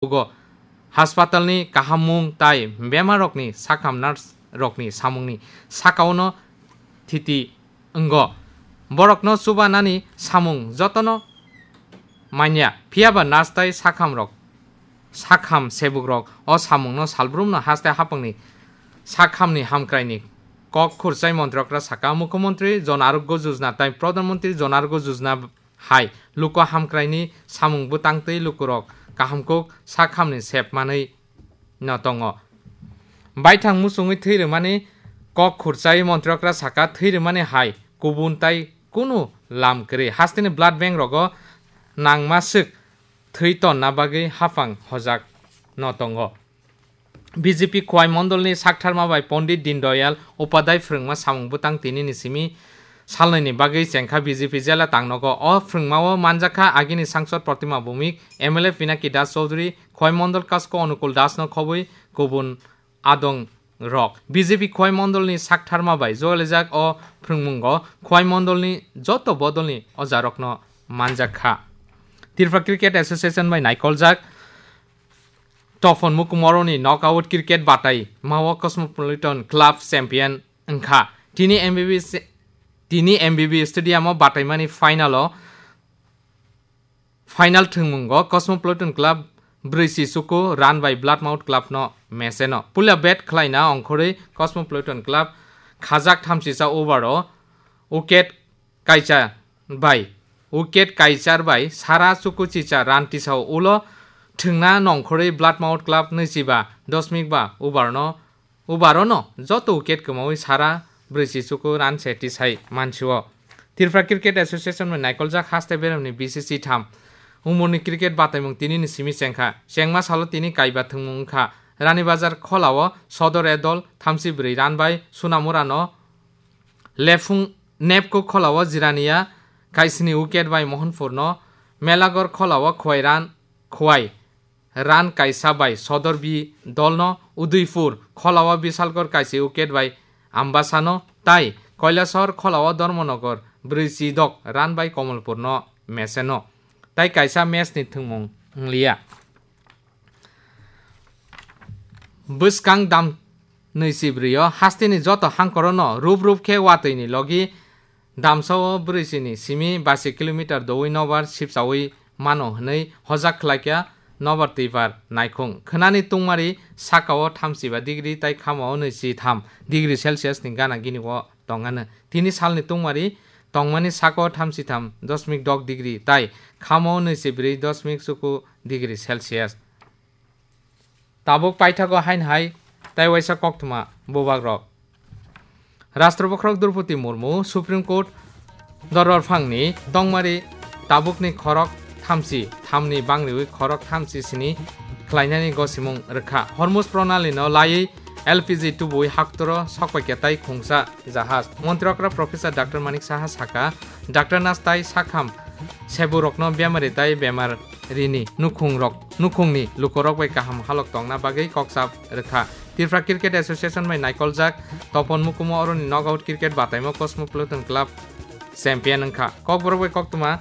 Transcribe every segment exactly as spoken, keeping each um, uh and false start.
Ugo haspatalni kahammung tai bemarrokni sakham nurse rokni samungni sakaono thiti wngo. Borokno chubanani samung jotono manya, phiyaba nurse tai sakhamrok, sakham sebukrok o samungno salbrumno haste hapangni sakhamni hamkraini kok khurchai montrokra saka, Mukhyamantri Jan Arogya Yojana tai Pradhan Mantri Jan Arogya Yojana hai luku hamkraini samung bwtang twi lukurok kahamkuk sakhamni sep manwi no tongo. Baithang muchungwi thwi rwmani kok khurchai montrokra saka, thwi rwmani hai kubun tai kunu lam kwrwi. Hasteni blood bank rogo nangma swk thwi tonna bagwi haphang hojak no tongo. B J P Khowai Mondolni saktharma bai Pondit Dindayal Upadhyay phrwngma samung bwtang tinini simi salnwini bagwi chengkha B J P jela tangnogo. O phrwngmao manjakha agini sangsod Protima Bhowmik, M L A Pinaki Das Chowdhury, Khowai Mondol Kasko Onukul Dasno khobwi kubun adong rok. B J P Khowai Mondolni saktharma bai jolijak o phrwngmungo Khowai Mondolni joto bodolni ojarokno manjakha. Tripura Cricket Association bai naikoljak Topon Mukumoroni knockout cricket batai mao Cosmopolitan Club champion wngkha. Tini M B B, tini M B B Stadium o bataimani final o, final thwngmungo Cosmopolitan Club brwi si chuku run bai Bloodmouth Club no meseno. Puila bat khlaina ongkhorwi Cosmopolitan Club khajak thamsisa over o wicket kaisa bai, wicket kaichar bai sara chuku chicha run tisao ulo thwngna nongkhorwi Bloodmouth Club nwichiba dosmik ba over no, over o no joto wicket kwmawi sara brwi si chuku run se tisai mansio. Tripura Cricket Association bai naikoljak haste beremni B C C tham umorni cricket bataimung tinini simi chengkha. Chengma salo tini kaiba thwngmung wngkha. Rani Bazar kholao Sodor e dol thamsi brwi run bai Sunamura no Lephung Nepko kholao Jirania kaisini wicket bai Mohanpurno, Melagor kholao Khowai run, Khowai run kaisa bai Sodor B dolno, Udaipur kholao Bisalgor kaisi wicket bai Ambasano, tai Kailasahar kholao Dharmanagar brwi si dok run bai Kamalpurno meseno. Tai kaisa match ni thwngmung wngliya. Bwskang dam nwi si brwi o hasteni joto hangkorono rup rup khe watwi ni logi damsao brwi si ni simi basi kilometer doui nobar sipsaui mano hwnwi hojak khlaikha nobar twibar naikhung. Khwnani tungmari sakao thamsiba degree tai khamao nwi si tham degree Celsius ni gana gini o tongano. Tini salni tungmari tongmani sako thamsitham dosmik dok degree tai khamo nwi si brwi dosmik chuku degree Celsius. Tabuk paithago hain hai tai waisa koktwma bubagrok. Rashtra Bokhorok Droupadi Murmu Supreme Court Dorbar phangni tongmari tabukni khorok thamsi thamni bangriwi khorok thamsi sini khlainani gosimung rwkha. Hormuz Pranali no laiwi L P G tubui haktoro sokpaikha tai khungsa jahaj. Montri okra Professor Doctor Manik Saha saka, Doctor nurse tai sakham seburokno bemari tai bemar rini nukhungrok, nukhungni lukorok bai kaham halok tongna bagwi koksa rwkha. Tripura Cricket Association bai naikoljak Topon Mukumo oroni knockout cricket bataimo Cosmopolitan Club champion wngkha. Kokborok bai koktwma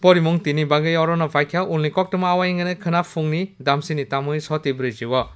porimung tini bagwi orono paikha, ulni koktwma awai wngkhe khwna phungni damsini tamwi soti brwi si o.